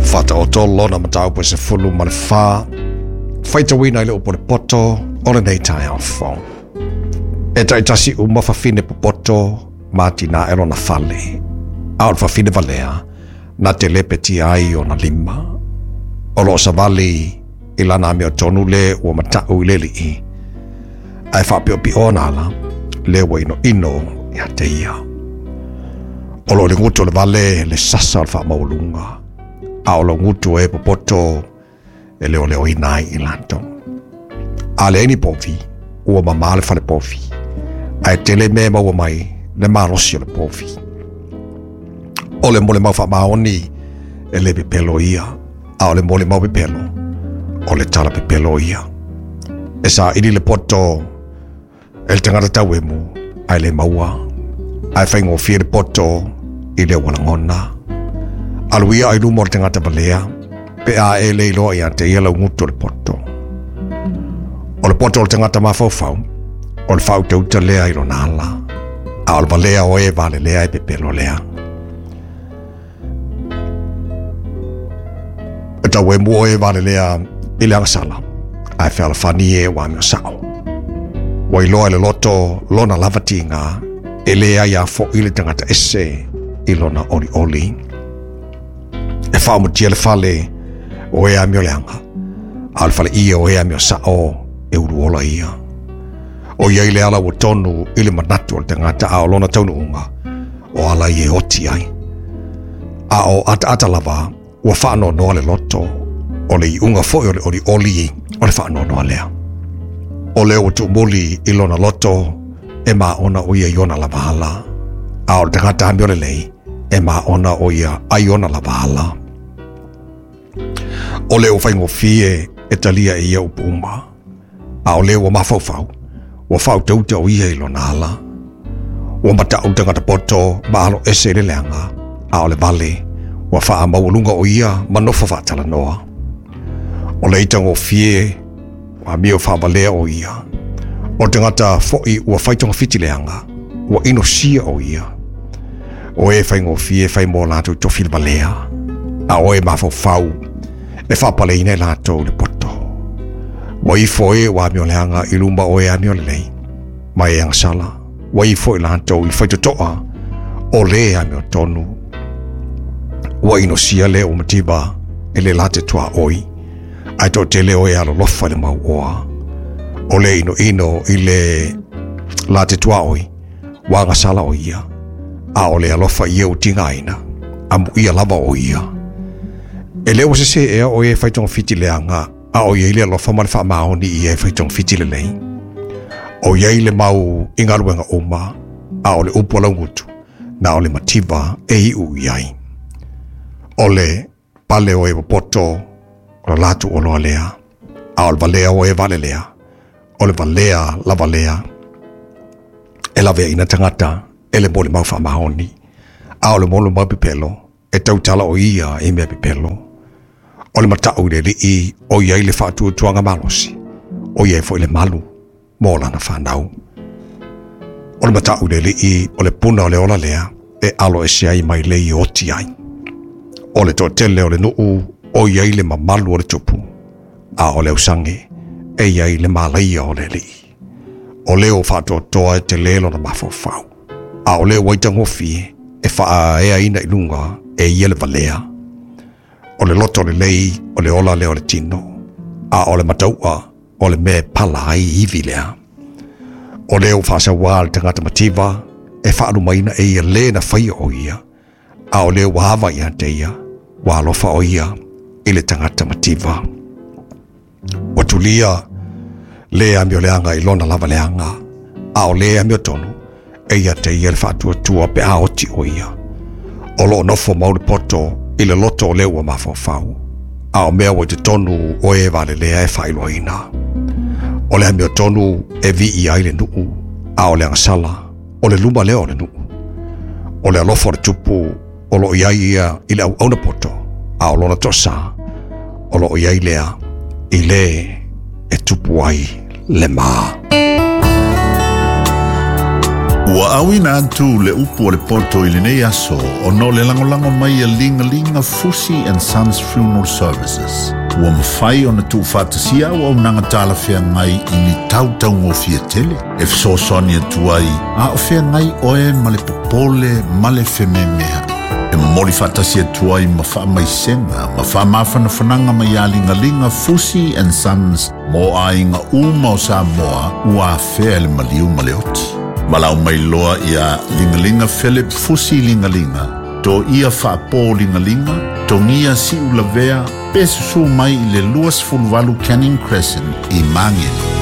Faataoto lona mataupu e 14, faitauina i le upu o le poto o lenei taeao fou. E taitasi uma fafine popoto ma atinae lona fale, a o le fafine valea na te lepetia ai ona lima. O loo savali i lana amiotonu le ua mata'u i le alii, ae faapiopio ona ala le ua inoino ia te ia. O loo i le gutu o le vale le sasa o le faamaualuga, a o lo gutu e popoto e leoleoina ai i latou. A leai ni povi, ua mamā le fale povi, ae tele mea e maua mai le malosi o le povi. O le molimau faamaoni e le pepelo ia, a o le molimau pepelo, o le tala pepelo ia. E saili le poto e le tagata tauemu ae le maua, ae faigofie le poto i le ua lagona. Alu ia ai luma o le tagata valea, pe a e le iloa ia te ia lau gutu o le poto. O le poto o le tagata mafaufau, o le faautauta lea i lona ala, a o le valea o e valelea e pepelo lea. E tauemu o e valelea i le agasala, ae fealofani e ua amio sao. Ua iloa e le loto lona lava tiga, e le ai a fo'i le tagata ese i lona olioli. E faaumutia le fale o e amio leaga, a o le fale ia o e amio sao e uluola ia. O iai le ala ua tonu i le manatu o le tagata a o lona taunuuga, o ala i e oti ai. A o ataata lava, ua faanoanoa le loto, o le iuga foi o le olioli o le faanoanoa lea. O lea ua tuumuli i lona loto, e maona o ia i ona lava ala, a o le tagata amio lelei, e maona o ia ai ona lava ala. O lea ua faigofie e talia e ia upu uma, a o lea ua mafaufau, ua faautauta o ia i lona ala. Ua mata'u le tagata poto ma alo ese i le leaga, a o le vale, ua faamaualuga o ia ma nofo faatalanoa. O le itagofie, ua amio faavalea o ia. O le tagata fo'i ua fai togafiti leaga, ua inosia o ia. O e faigofie fai mo latou tofi le valea, a o e mafaufau e faapaleina e latou le poto. Ua ifo e ua amio leaga i luma o e amio lelei, ma e agasala, ua ifo i latou i faitotoa o le amiotonu. Ua inosia le ua mativa e le late tuaoi, ae toatele o e alolofa i le mauoa. O le inoino i le late tuaoi, ua agasala o ia, a o le alofa ia ua tigaina, amuia lava o ia. E le ua sese ea o e faitogafiti leaga, a o iai le alofa ma le faamaoni i e faitogafiti lelei. O iai le mau i galuega uma, a o le upu a laugutu, na o le mativa e iu i ai. O le pale o e popoto, o le latou oloa lea, a o le valea o e valelea, o le valea lava lea. E laveaina tagata e le molimau faamaoni, a o le molimau pepelo, e tautala o ia i mea pepelo. O le mata'u i le alii, o iai le faatuatuaga malosi, o iai foi le malu mo lana fanau. O le mata'u i le alii, o le puna o le ola lea, e alo ese ai mai le i oti ai. O le toatele o le nuu, o iai le mamalu o le tupu, a o le ausage, e iai le malaia o le alii. O leo faatoatoa e te le lona mafaufau, a o leo aitagofie e faaeaina i luga e ia le valea. O le loto lelei o le ola lea o le tino, a o le mataua o le mea e pala ai ivi lea. O leo faasauā le tagata mativa e faalumaina e ia le na faia o ia, a o leo ua ava ia te ia, ua alofa o ia i le tagata mativa. Ua tulia le amio leaga i lona lava leaga, a o le amiotonu e ia te ia le faatuatua pe a oti o ia. O loo nofo mau le poto i le loto o lea ua mafaufau, a o mea ua i totonu o e valelea e faailoaina. O le amiotonu e vii ai le nuu, a o le agasala, o le luma lea o le nuu. O le alofa o le tupu o loo iai ia i le auauna poto, a o lona toasā, o loo iai lea i le e tupu ai le mā. Ua auina atu le upu a le poto i lenei aso ona o le lagolago mai a Ligalinga Fusi and Sons Funeral Services. Ua mafai ona tuufaatasia auaunaga talafeagai i ni tau taugofie tele e fesoasoani atu ai a o feagai oe ma le popole ma le fememeai. E momoli faatasi atu ai ma faamaisega ma faamafanafanaga mai ia Ligalinga Fusi and Sons mo aiga uma o Samoa ua afea e le maliu ma le oti. Valaau mai loa ia Ligalinga Philip Fusi Ligalinga, Toia Faapo Ligalinga, Togia Siulavea, pe susu mai i le 28 Canning Crescent i Magele.